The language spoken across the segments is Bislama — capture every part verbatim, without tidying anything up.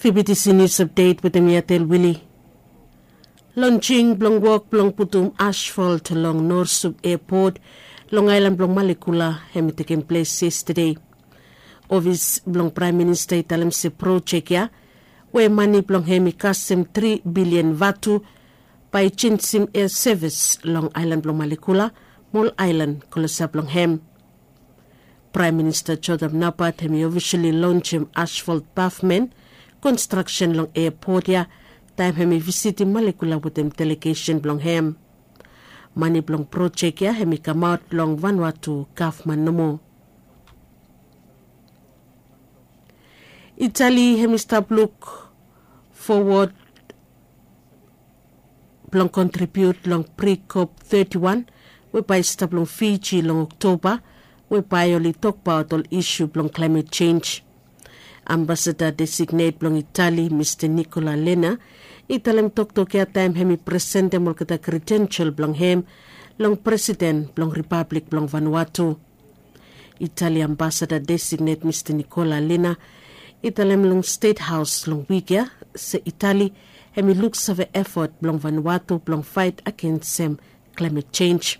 Vbtc News Update wetem mi Atel Wili. Lonjing blong wok blong putum asfalt long Norsuk Airport long aelan blong Malekula hemi tekem ples yestade. Ofis blong Praem Minista i talem se projek ya, we mane blong hem i kasem tri bilian vatu, bae i jenjem air sevis long aelan blong Malekula mo ol aelan klosap long hem. Praem Minista Jodham Napat hemi ofisali lonjem asfalt pavmen konstraksen long airport ya taem hemi visitim Malekula wetem delegesen blong hem. Mane blong projek ya hemi kamaot long Vanuatu gavman nomo. Itali hemi stap luk fowod blong kontribiut long pre-COP thirty-one we bae i stap long Fiji long Oktoba, we bae oli tokbaot ol isu blong klaemet jenj. Ambasada designet blong Itali, Mista Nikola Lena, i talem toktok ya taem hemi presentem olgeta kredensel blong hem long Presiden blong Ripablik blong Vanuatu. Itali Ambasada designet Mista Nikola Lena i talem long Stet Haos long wik ya se Itali hemi luksave efot blong Vanuatu blong faet agensem klaemet jenj.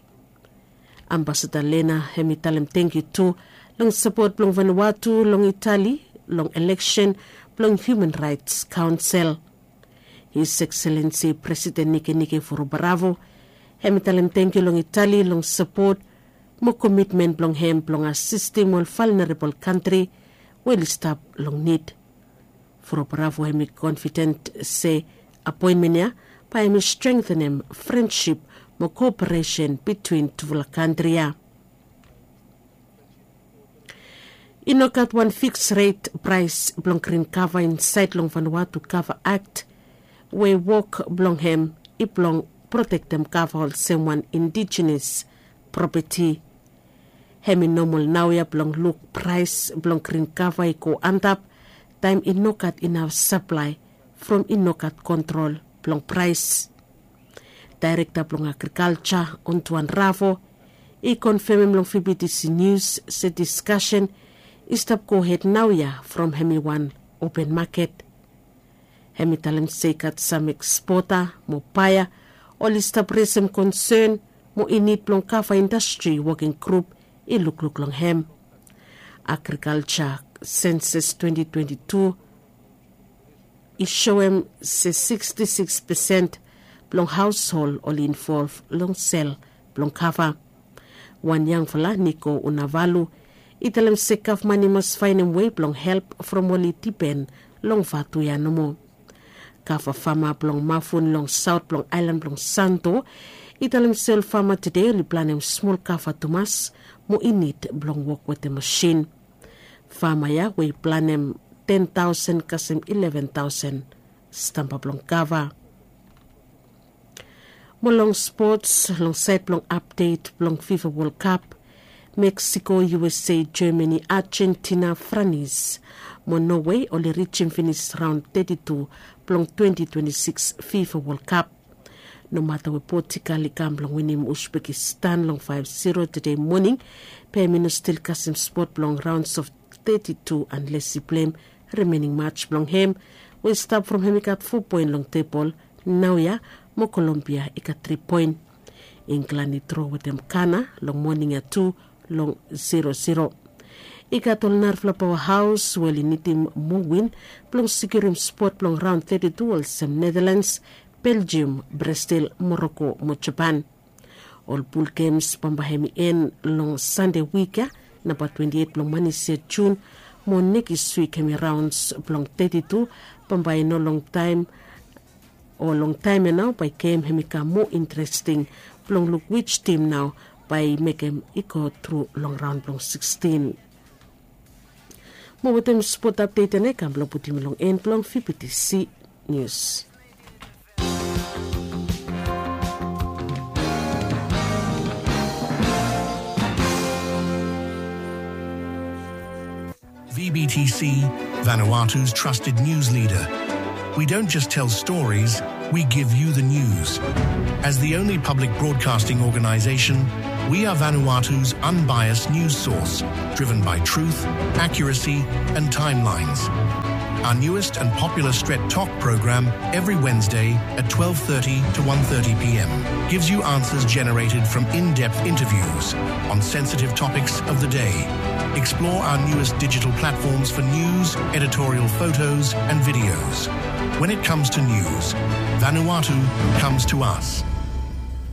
Ambasada Lena hemi talem tangkiu tu long sapot blong Vanuatu long Itali long eleksen blong Human Raets Kaonsel. His Excellency Presiden Nikenike Vurobaravu hemi talem tangkiu long Itali long sapot mo komitmen blong hem blong asistem ol valnerabol kantri we oli stap long nid. Vurobaravu hemi konfiden se apoenmen ya bae hemi strengtenem frensip mo koperesen bitwin tufala kantri ya. I no gat wan fiks ret praes blong grin kava insaed long Vanuatu Kava Akt, we wok blong hem i blong protektem kava olsem wan indijenes propeti. Hemi nomol naoia blong luk praes blong grin kava i go antap taem i no gat inaf saplae from i no gat kontrol blong praes. Daerekta blong agrikalja, Ontuan Ravo, i konfemem long Vbtc Nius se diskasen i stap gohed naoia from hemi wan open maket. Hemi talem se i gat sam ekspota mo baea oli stap resem konsen mo i nid blong kava indastri woking grup i lukluk long hem. Agrikalja senses twenti twenti tu i soem se siksti siks pesen blong haoshol oli involv long sel blong kava. Wan yangfala, Niko Unavalu, i talem se gavman i mas faenem wei blong help from oli dipen long vatu ya nomo. Kava fama blong Mafun long saot blong aelan blong Santo i talem se ol fama tede oli planem smol kava tumas mo i nid blong wok wetem masin. Fama ya we i planem ten taosen kasem ileven taosen stamba blong kava. Mo long spots, long saed blong apdet blong FIFA World Cup, Mexico, USA, Germany, Argentina, Franis mo Norway oli rijim finis raon teti tu blong twenti twenti sikis FIFA World Cup. Nomata we Portugal i kam blong winim Uzbekistan long faef ziro tede moning, be hemi no stil kasem spot blong raons of teti tu anles i pleim rimening maj blong hem, we i stap from hem i gat fo poen long tebol naoia, mo Kolombia i gat tri poen. Inglan i dro wetem Gana long moning ya tu long ziro ziro. I gat ol narafala paoa haos we oli nidim moa win blong sekiurim spot blong raon teti tu olsem Netherlands, Belgium, Brazil, Morocco mo Japan. Ol pul gems bambae hemi en long Sande wik ya, namba twenti eit blong manis ya Jun, mo nekis wik hemi raons blong teti tu, bambae i no longtaem o longtaem ya nao bae gem hemi kam moa interesting blong luk wij tim nao bae i mekem i go tru long raon blong sikstin. Mo wetem spot apdet ya nao i kam blong putum long en blong Vbtc Nius. V B T C, Vanuatu's trusted news leader. We don't just tell stories, We give you the news. As the only public broadcasting organization, we are Vanuatu's unbiased news source, driven by truth, accuracy, and timelines. Our newest and popular Stret Tok program, every Wednesday at twelve thirty to one thirty p m, gives you answers generated from in-depth interviews on sensitive topics of the day. Explore our newest digital platforms for news, editorial photos, and videos. When it comes to news, Vanuatu comes to us.